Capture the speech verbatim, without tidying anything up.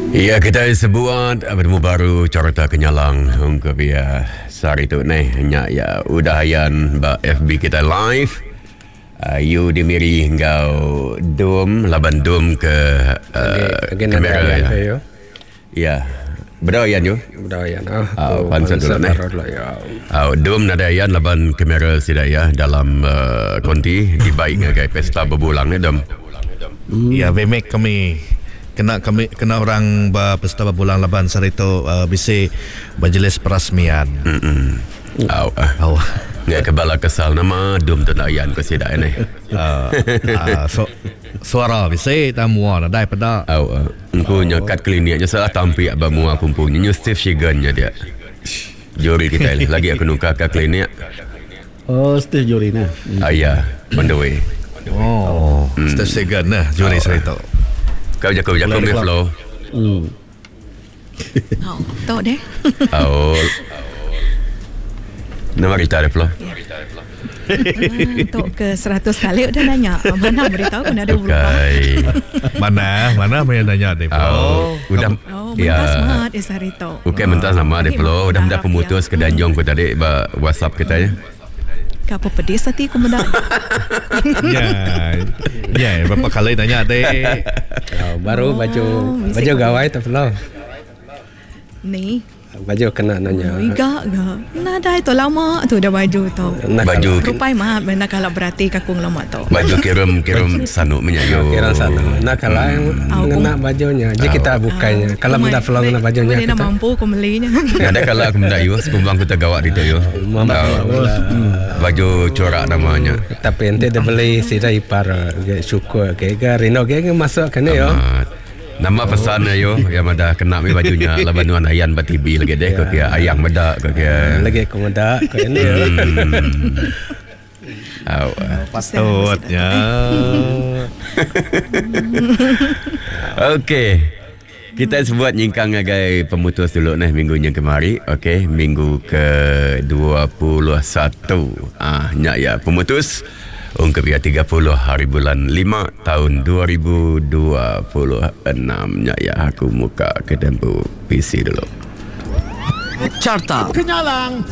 Ya, kita sebuat bertemu baru Carta Kenyalang ungkup ya sehari tu nih nya ya udah ayan ba F B kita live. Uh, you dimiri enggau dum laban dum ke uh, kamera ya. Ya. Ya. Bedayan yo. Bedayan ah. Uh, pansut dulu nih. Uh, dum nadai ayan laban kamera sida ya dalam uh, konti dibaik ngagai pesta berbulang ni dum. Hmm. Ya, bemek kami kena kami kena orang ba pesta berbulang laban sehari tu uh, bisi majlis perasmian. Hmm. Au. Au. Ya kebala kesal nama dum tu ayan ko sida ni. Uh, uh, so, suara bisi tamu nadai peda. Au. Engku nya kat kliniknya salah tampik ba mua kumpu nyu Steve Shigan nya dia. Juri kita lagi aku nukar ke klinik. Oh, Steve juri nah. Ah ya, on the way. Oh, hmm. Steve Shigan nah juri sehari tu. Kau jago jago me flow. Hmm. Oh, tok deh. Oh. Nama berita dia flow. Tok ke seratus kali udah nanya. Mana berita aku ada berubah. Mana mana main nanya deh flow. Udah oh, mentas mat eh hari tu. Okey, mentas nama deh flow. Udah mendak pemutus ke Danjong ku tadi ba WhatsApp kita ya. Apa pedis hati aku mendak. Ya. Ya, berapa kali nanya deh. Oh, baru oh, baju baju gawai tu flow. Ni baju kena nanya. Iga ga. Nadai tu lama tu dah baju tu. Baju rupai mah benar kalau berarti kakung lama tu. Baju kirim kirim sanuk minyak yo. Kirim sanuk. Nak kalau ngena bajunya. Jadi kita bukainya. Kalau benda flow ngena bajunya kita. Mana mampu aku belinya. Ada kalau aku benda yo sekumbang kita gawak di tu yo. Baju corak namanya. Tapi ente dia beli sida ipar syukur ke ga rino ke masuk kene yo. Nama pesan yo yang ada kena mi bajunya laban nuan ayan ba T V lagi deh ko kia ayang meda ko kia lagi ko meda ko ini yo. Au patutnya. Okey. Kita sebut nyingkang ngagai pemutus dulu nah minggu yang kemari. Okey, minggu ke dua puluh satu. Ah nyak ya pemutus ungkap ya tiga puluh hari bulan lima tahun dua ribu dua puluh enam. Nyak ya aku muka ke tempo P C dulu. Carta Kenyalang.